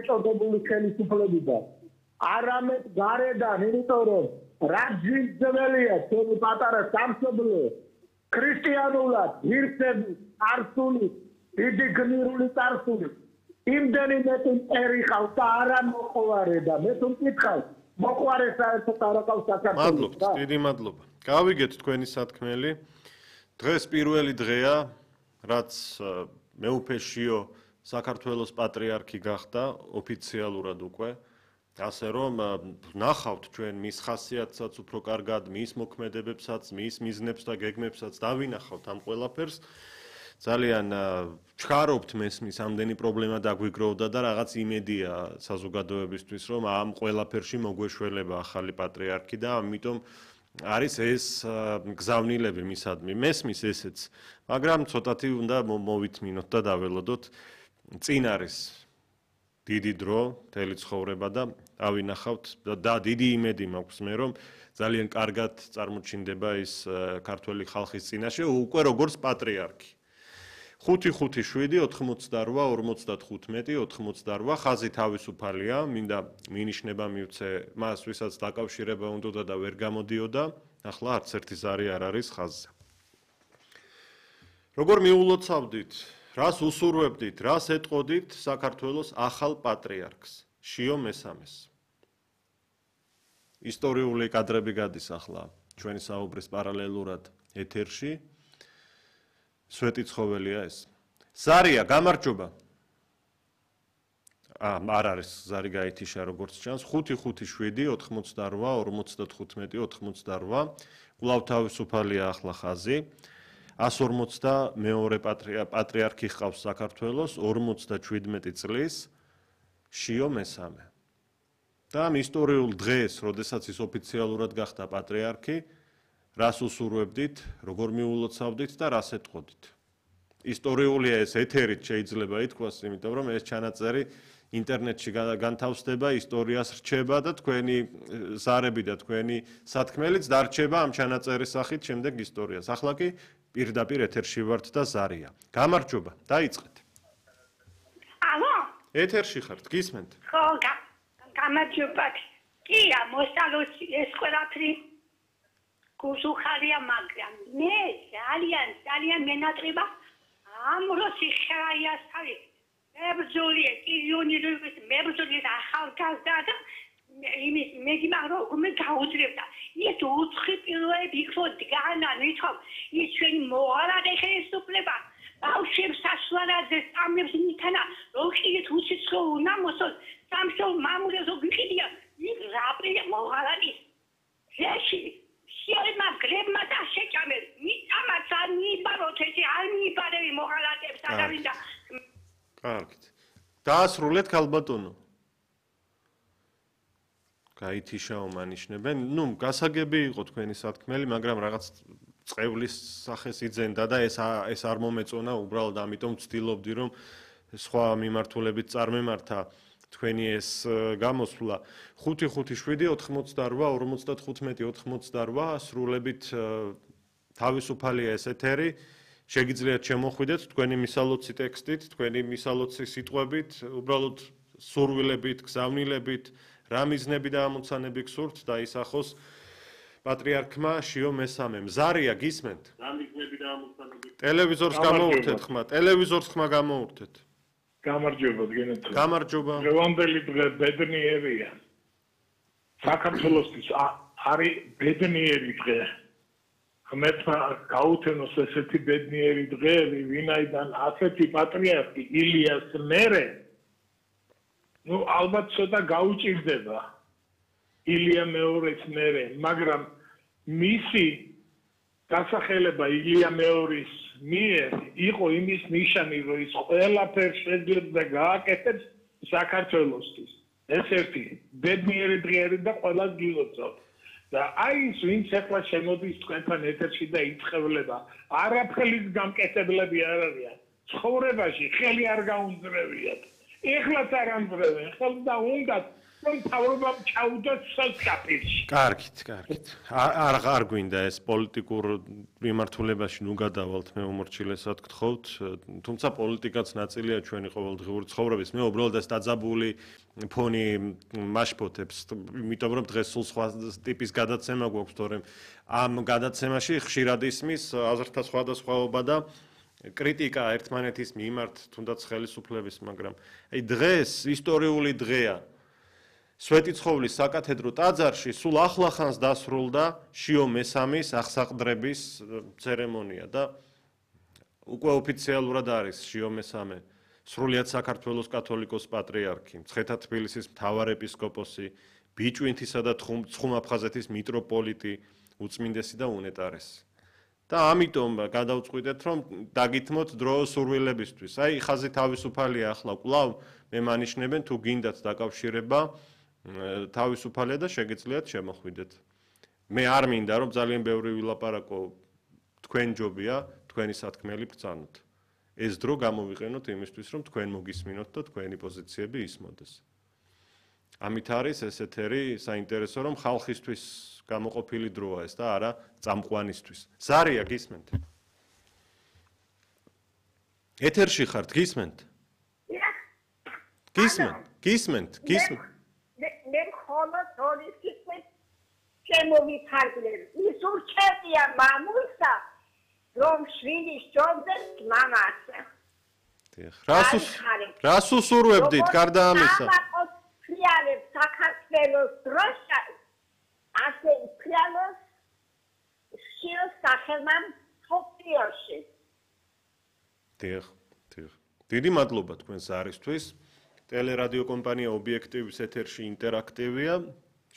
წოდებული ხელისუფლებიდან. არამედ გარედან, იმიტომ რომ რაჯვისძველია თქვენი პატარა სამშობლო ქრისტიანულად ღირსები წარსული დიდი გმირული წარსული იმდენი მეტი მტერი ყავს და არა მოყვარე და მე თუ მკითხავ მოყვარე საერთოდ არ ყავს საქართველოს. მადლობთ, დიდი მადლობა. გავიგეთ თქვენი სათქმელი. დღეს პირველი დღეა, რაც მეუფეშიო საქართველოს პატრიარქი გახდა ოფიციალურად უკვე. ასე რომ ნახავთ ჩვენ მის ხასიათსაც უფრო კარგად, მის მოქმედებებსაც, მის მიზნებს და გეგმებსაც დავინახავთ ამ ყველაფერს. ძალიან ჩქარობთ მესმის ამდენი პრობლემა დაგვიგროვდა და რაღაც იმედია საზოგადოებისთვის, რომ ამ ყველაფერში მოგვეშველება ახალი პატრიარქი და ამიტომ არის ეს გზავნილები მისადმი. მესმის ესეც, მაგრამ ცოტათი უნდა მოვითმინოთ და დაველოდოთ. წინ არის დიდი დრო, მთელი ცხოვრება და ავინახავთ და დიდი იმედი მაქვს მე, რომ ძალიან კარგად წარმოჩინდება ის ქართველი ხალხის წინაშე უკვე როგორც პატრიარქი. 5-5-7 88 55 88 ხაზი თავისუფალია, მინდა მინიშნება მივცე მას, ვისაც დაკავშირება უნდოდა და ვერ გამოდიოდა, ახლა არც ერთი ზარი არ არის ხაზზე. როგორ მიულოცავდით, რას უსურვებდით, რას ეტყოდით საქართველოს ახალ პატრიარქს, შიო მესამეს. ისტორიული კადრები გადის ახლა ჩვენი საუბრის პარალელურად ეთერში. სვეტი ცხოველია ეს. ზარია, გამარჯობა. არ არის ზარი გაითიშა როგორც ჩანს. 5-5-7 88 55 88. კვლავ თავისუფალია ახლა ხაზი. 142 პატრიარქი ჰყავს საქართველოს 57 წლის შიო მესამე. და ამ ისტორიულ დღეს, როდესაც ის ოფიციალურად გახდა პატრიარქი, რას უსურვებდით, როგორ მიულოცავდით და რას ეტყოდით. ისტორიულია ეს ეთერით შეიძლება ითქვას, იმიტომ რომ ეს ჩანაწერი ინტერნეტში განთავსდება, ისტორიას რჩება და თქვენი ზარები და თქვენი სათქმელიც დარჩება ამ ჩანაწერის სახით შემდეგ ისტორიას. ახლა კი პირდაპირ ეთერში ვართ და ზარია. გამარჯობა, დაიწყეთ. ალო? ეთერში ხართ, გისმენთ? ხო, გამარჯობა. კია, მოსალოცი ეს ყველაფერი გუშუხარია, მაგრამ მე ძალიან მენატრება ამ როსი ხაიას არის. მებრძოლია, კილიონერის მებრძოლია ახალგაზრდა და იმის მეგიმარო მე გაუძლებდა. ის უცხი პირველი იქო დგანა, ვითომ ის ჩვენი მოღალატე ხელისუფლება ბავშვებს საშუალად სამებს ნითანა როხიეთ უციცო უნდა მოსულ სამშობ მამულებს ვიყიდია ის რაპრია მოღალატის შეში შემა გრებმა და შეჭამეს მიწამაც არ მიბაროთ ესე არ მიბარები მოღალატებს არავინდა. კარგით. დაასრულეთ ქალბატონო. გაითიშაო მანიშნებენ. ნუ გასაგები იყო თქვენი სათქმელი, მაგრამ რაღაც წევლის სახეს იძენდა და ეს არ მომეწონა, უბრალოდ ამიტომ ვცდილობდი რომ სხვა მიმართულებით წარმემართა თქვენი ეს გამოსვლა. 5-5-7 88 55 88 სრულებით თავისუფალია ეს ეთერი. შეგიძლიათ შემოხვიდეთ თქვენი მისალოცი ტექსტით, თქვენი მისალოცი სიტყვებით, უბრალოდ სურვილებით, გზავნილებით, რა მიზნები და ამოცანები გსურთ დაისახოს პატრიარქმა შიო მესამემ. ზარია, გისმენთ? რა მიზნები და ამოცანები? ტელევიზორს გამოურთეთ ხმა, ტელევიზორს ხმა გამოურთეთ. გამარჯობა, გენეთ. გამარჯობა. დღევანდელი დღე ბედნიერია. საქართველოსთვის არის ბედნიერი დღე. ღმერთმა გაუთენოს ესეთი ბედნიერი დღეები, ვინაიდან ასეთი პატრიარქი ილიას მერე ну ალბათ ცოტა გაუჭირდება ილია მეორის მერე, მაგრამ მისი დასახელება ილია მეორის მიერ იყო იმის ნიშანი, რომ ის ყველაფერს შეძლებს გააკეთებს საქართველოსთვის. ეს ერთი ბედნიერი დღეები და ყველას გილოცავთ. და აი ის ვინც ახლა შემოდის თქვენთან ეთერში და იწევლება, არაფრის გამკეთებლები არ არიან. ცხოვრებაში ხელი არ გაუნձრევიათ. ეხლაც არ ამბრევენ, ხელდა უნდათ რომ თავრობამ ჩაუდოთ სასკაფილში. კარგით. არ გვინდა ეს პოლიტიკურ მიმართულებაში ნუ გადავალთ, მე უმორჩილესად გთხოვთ, თუმცა პოლიტიკაც ნაწილია ჩვენი ყოველდღიური ცხოვრების. მე უბრალოდ ეს დაძაბული ფონი მაშფოთებს, იმიტომ რომ დღეს სულ სხვა ტიპის გადაცემა გვაქვს, თორემ ამ გადაცემაში ხშირად ისმის აზრთა სხვადასხვაობა და კრიტიკა ერთმანეთის მიმართ, თუნდაც ხელისუფლების, მაგრამ აი დღეს ისტორიული დღეა. სვეტიცხოვლის საკათედრო ტაძარში სულ ახლახანს დასრულდა შიო მესამის აღსაყდრების ცერემონია და უკვე ოფიციალურად არის შიო მესამე სრულიად საქართველოს კათოლიკოს პატრიარქი, მცხეთა თბილისის მთავარეპისკოპოსი, ბიჭვინთისა და ცხუმ-აფხაზეთის მიტროპოლიტი, უწმინდესი და უნეტარესი. და ამიტომ გადავწყვიტეთ, რომ დაგითმოთ დრო სურვილებისთვის. აი, ხაზი თავისუფალია ახლა კვლავ მე მანიშნებენ თუ გინდათ დაკავშირება თავისუფალია და შეგიძლიათ შემოხვიდეთ. მე არ მინდა რომ ძალიან ბევრი ვილაპარაკო, თქვენ ჯობია, თქვენი სათქმელი ბრძანოთ. ეს დრო გამოვიყენოთ იმისთვის, რომ თქვენ მოგისმინოთ და თქვენი პოზიციები ისმოდეს. ამით არის ეს ეთერი საინტერესო, რომ ხალხისთვის გამოყოფილი დროა ეს და არა წამყვანისთვის. ზარია გისმენთ? ეთერში ხართ, გისმენთ? გისმენთ? მე მხოლოდ ორი სიტყვით შემოვიფარგლებ. ის ურჩევია მამულსა, რომ შვილის ჯობდეს მამას. რას უსურვებდით გარდა ამისა? ფრიალებს საქართველოს დროშა, ასე ფრიალოს შილს სახელმამ თოფიოში. დიახ. დიდი მადლობა თქვენს არისთვის. ტელერადიო კომპანია ობიექტივის ეთერში ინტერაქტივია.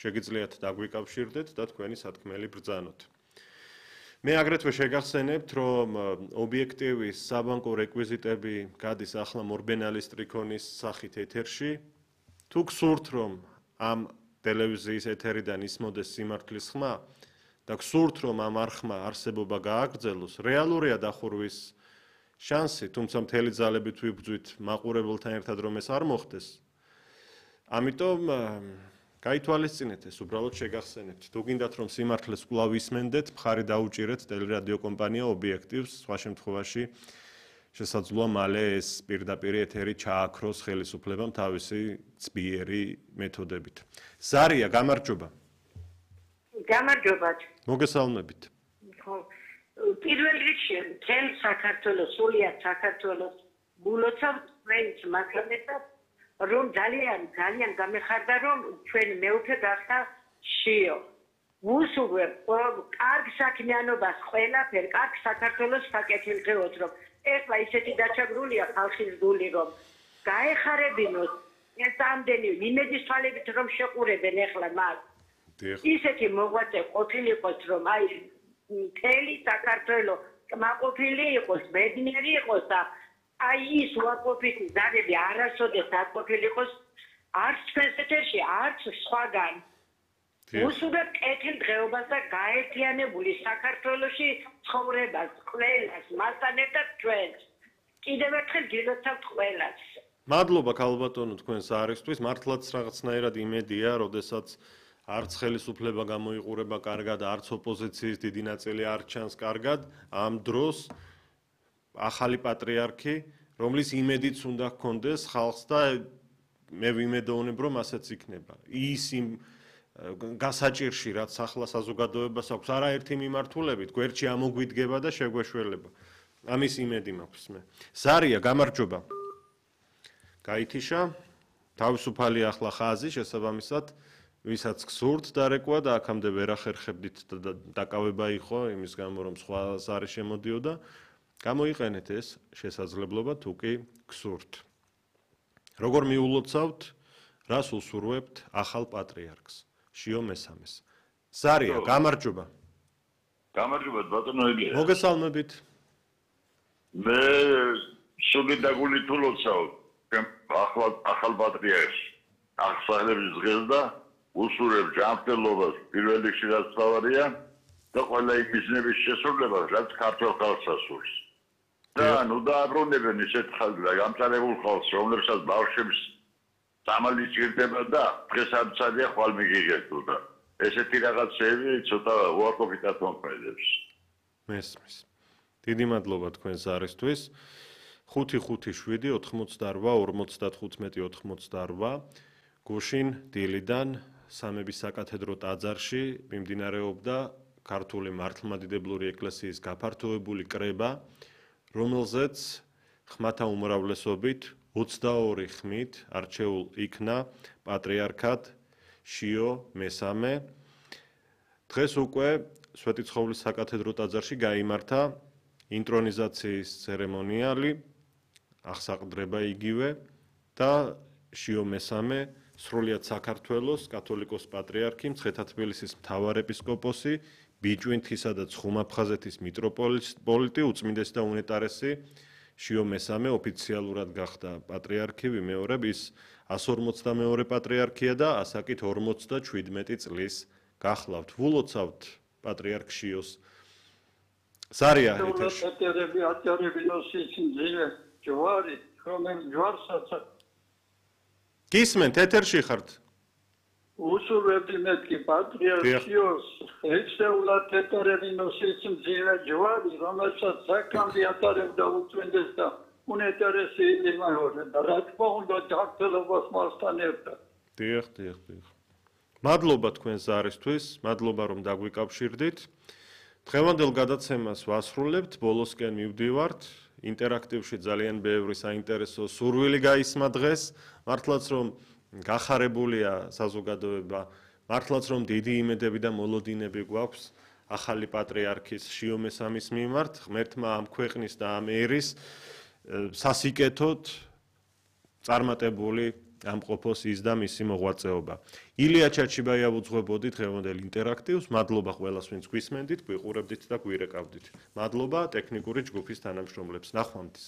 შეგიძლიათ დაგვიკავშირდეთ და თქვენი სათქმელი ბრძანოთ. მე აგრეთვე შეგახსენებთ, რომ ობიექტივის საბანკო რეკვიზიტები გადის ახლა მორბენალის ტრიქონის სახით ეთერში. თუ გსურთ, რომ ამ ტელევიზიის ეთერიდან ისმოდეს სიმართლის ხმა და გსურთ, რომ ამ არხმა არსებობა გააგრძელოს, რეალურია დახურვის შანსი, თუმცა მთელი ძალებით ვიბრძვით მაყურებელთან ერთად, რომ ეს არ მოხდეს. ამიტომ გაითვალისწინეთ ეს, უბრალოდ შეგახსენებთ. თუ გინდათ, რომ სიმართლეს კვლავ ისმენდეთ, მხარი დაუჭირეთ ტელერადიო კომპანია ობიექტივს, სხვა შემთხვევაში შესაძლოა მალე ეს პირდაპირ ეთერი ჩააქროს ხელისუფლებამ თავისი ძლიერი მეთოდებით. ზარია, გამარჯობა. გამარჯობა. მოგესალმებით. პირველ რიგში მთელ საქართველოს, სულიად საქართველოს გულოცავთ თქვენს მასალასთან, რომ ძალიან გამეხარდა, რომ ჩვენი მეუფე გახდა შიო. ვუსურვებ კარგ საქმიანობას ყველაფერ, კარგ საქართველოს საკეთილდღეოდ, რომ ეხლა ისეთი დაჩაგრულია ხალხის გული, რომ გაეხარებინოს ეს ამდენი იმედის თვალებით, რომ შეყურებენ ეხლა მას. ისეთი მოღვაწე ყოფილიყოს, რომ აი მთელი საქართველო კმაყოფილი იყოს, ბედნიერი იყოს და აი ის უარყოფითი ზარები არასოდეს დაყოფილიყოს არც ჩვენს ეთერში, არც სხვაგან. უსურვებ კეთილდღეობას და გაერთიანებული საქართველოში ცხოვრებას, ყველას, მასთან ერთად ჩვენს. კიდევ ერთხელ გილოცავთ ყველას. მადლობა ქალბატონო თქვენს არისთვის, მართლაც რაღაცნაირად იმედია, როდესაც არც ხელისუფლება გამოიყურება კარგად, არც ოპოზიციის დიდი ნაწილი არ ჩანს კარგად, ამ დროს ახალი პატრიარქი, რომლის იმედიც უნდა ჰქონდეს ხალხს და მე ვიმედოვნებ, რომ ასეც იქნება. ის იმ გასაჭირში, რაც ახლა საზოგადოებას აქვს, არაერთი მიმართულებით, გვერდში ამოგვიდგება და შეგვეშველება. ამის იმედი მაქვს მე. ზარია, გამარჯობა. გაითიშა, თავისუფალი ახლა ხაზი შესაბამისად, ვისაც გსურთ დარეკვა და აქამდე ვერ ახერხებდით და დაკავება იყო იმის გამო, რომ სხვა ზარი შემოდიოდა, გამოიყენეთ ეს შესაძლებლობა თუ კი გსურთ. როგორ მიულოცავთ, რას უსურვებთ ახალ პატრიარქს, შიო მესამეს. ზარია, გამარჯობა. გამარჯობა ბატონო ელია. მოგესალმებით. მე სული დაგულით ულოცავ ახალ პატრიარქს. აღსალებების დღეს და უსურებ ჯანმრთელობას პირველ რიგში რაც თავარია და ყველა იმ ბიზნესის შესრულებას, რაც ქართულ ხალხს ასურს. და ნუ დააბრუნებენ ისეთ ხალხს და გამწარებულ ხალხს, რომლებსაც ბავშვებს სამალი ჭირდება და დღეს ამცადია ხვალ მიგიღებთ და ესეთი რაღაცები ცოტა უარყოფითად მომხდებს. მესმის. დიდი მადლობა თქვენ ზარისთვის. 557-88-55-88 გუშინ დილიდან სამების საკათედრო ტაძარში მიმდინარეობდა ქართული მართლმადიდებლური ეკლესიის გაფართოებული კრება, რომელზეც ხმათა უმრავლესობით 22 ხმით არჩეულ იქნა პატრიარქად შიო მესამე. დღეს უკვე სვეტიცხოვლის საკათედრო ტაძარში გაიმართა ინტრონიზაციის ცერემონიალი, აღსაყდრება იგივე და შიო მესამე სრულიად საქართველოს კათოლიკოს პატრიარქი, მცხეთა-თბილისის მთავარეპისკოპოსი, ბიჭვინთისა და ცხუმაფხაზეთის მიტროპოლიტი, უწმინდესი და უნეტარესი შიო მესამე ოფიციალურად გახდა პატრიარქი, ვიმეორებ, ის 152 პატრიარქია და ასაკით 57 წლის გახლავთ. ვულოცავთ პატრიარქ შიოს. ზარია ეთერში. გისმენთ, ეთერში ხართ? უსურვებდი მეთქი პატრიარქ შიოს, ეცეულად ეთერები ნოსის მძიმე ჯვარი, რომელსაც საკამბი ატარებდა უწმინდეს და უნეტარესი იმაორი და რა თქმა უნდა ჯანმრთელობას მასთან ერთად. დიახ. მადლობა თქვენ ზარისთვის, მადლობა რომ დაგვიკავშირდით. დღევანდელ გადაცემას ვასრულებთ, ბოლოსკენ მივდივართ. ინტერაქტივში ძალიან ბევრი საინტერესო სურვილი გაისმა დღეს, მართლაც რომ გახარებულია საზოგადოება, მართლაც რომ დიდი იმედები და მოლოდინები გვაქვს ახალი პატრიარქის შიო მესამის მიმართ, ღმერთმა ამ ქვეყნის და ამ ერის სასიკეთოდ წარმატებული ამყოფოს ის და მისი მოღვაწეობა. ილია ჩაჩიბაია უძღვებოდი დღევანდელ ინტერაქტივს, მადლობა ყველას, ვინც გვისმენდით, გვიყურებდით და გვირეკავდით. მადლობა ტექნიკური ჯგუფის თანამშრომლებს. ნახვამდის.